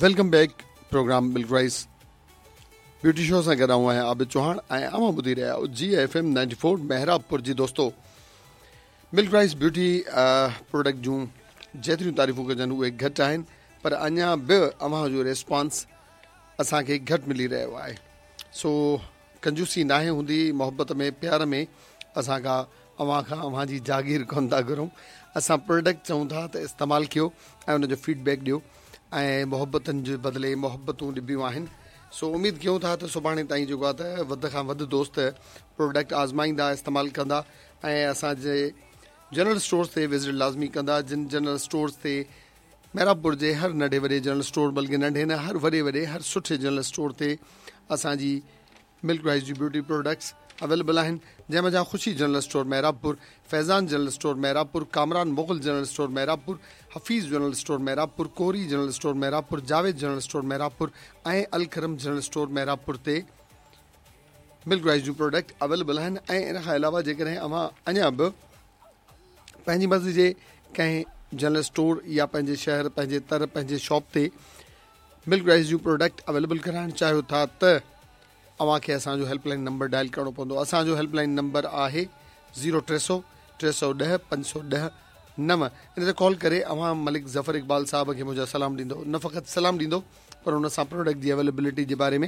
Welcome back programme Milk Rice beauty show سان گڏ آئون آهيان عابد چوهاڻ ۽ اوهان ٻڌي رهيا آهيو جي ايف ايم 94 محرابپور جي دوستو ملڪ رائس بيوٽي پروڊڪٽ جون جيتريون تعريفون ڪجن اهي گهٽ آهن پر اڃا به اوهان جو ريسپانس اسان کي گهٽ ملي رهيو آهي سو ڪنجوسي ناهي هوندي محبت ۾ پيار ۾ اسان ڪا اوهان کان اوهان جي جاگير ڪونه ٿا گهرون اسان پروڊڪٽ چئون ٿا ته استعمال ڪيو ۽ ان جو فيڊ بيڪ ڏيو ۽ محبتن جي بدلي محبتون ڏبيون آهن سو اميد ڪيون ٿا ته سڀاڻي تائين جيڪو آهي ته وڌ کان وڌ دوست پروڊڪٽ آزمائيندا استعمال ڪندا ۽ اسان جي جنرل اسٽورز تي وزٽ لازمي ڪندا جن جنرل اسٽورز تي محرابپور جي هر ننڍي وڏي جنرل اسٽور بلڪه ننڍي نه هر وڏي وڏي هر سٺي جنرل اسٽور تي اسان جي ملڪ رائس جون بيوٽي پروڊڪٽس اويليبل آهن جنهن منجهان Khushi general store Mehrabpur, Faizan general store Mehrabpur, Kamran Mughal general store Mehrabpur, Hafeez general store Mehrabpur, Kori general store Mehrabpur, Javed general store Mehrabpur ۽ Alkaram general store Mehrabpur تي ملڪ rice جون product available آهن ۽ ان کان علاوه جيڪڏهن اوهان اڃا به پنهنجي مرضي جي ڪنهن جنرل اسٽور يا پنهنجي شهر پنهنجي تر پنهنجي شاپ تي ملڪ رائس جون پروڊڪٽ اويليبل ڪرائڻ چاهيو ٿا ته اوهان کي اسان جو هيلپ لائن نمبر ڊائل ڪرڻو پوندو اسان جو هيلپ لائن نمبر آهي زيرو 300 310 510 9 ان تي ڪال ڪري اوهان ملڪ ظفر اقبال صاحب کي منهنجا سلام ڏيندو نه فقط سلام ڏيندو پر ان سان پروڊڪٽ جي اويليبلٽي جي باري ۾